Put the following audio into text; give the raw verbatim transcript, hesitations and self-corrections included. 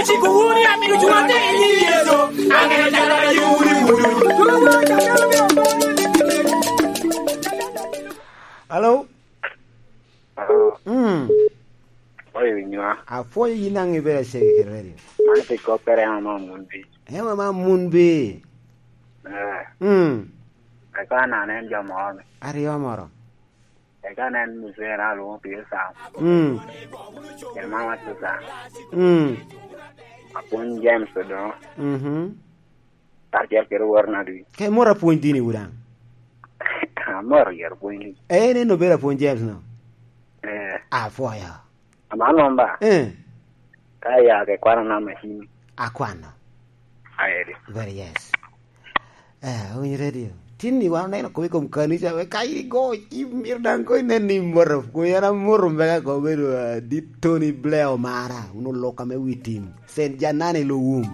Ciko wunu ya, mito cuŋ atek i nyiŋ Yecu, aŋeo jala a yewu ni wunu. Hello? Hello? Mm. Apwoyo winywa. Apwoyo yin aŋe ibedo acege kede radio. Man pi koppere ama mun bi. Ema ma mun bi. Eh. Mm. Eka na nen jo moro ni. Aryo moro. Eka nen muzee na lwoŋo pire Sam. Mm. Kede mama Susan. Mm. Apwony James Odongo. Mhm. Kacel kede wor nadi? Ke moro apwony dini wu daŋ. Amoro yero pwony ni. Eh, en en obedo apwony James no. Eh. Apwoyo. Ama nomba. Eh. Ka ya ke kwano na machine. Akwano. Aeri. Very yes. Eh, Winyo Radio. Tin ni wan oneno kome i kom kanica, we ka in igo, imito daŋ ko inen ni imoto. Kome an amoto mbeka ko bedo, ah, dit Tony Blair Omara, un olok ame wi tim. Saint Janani Luwum.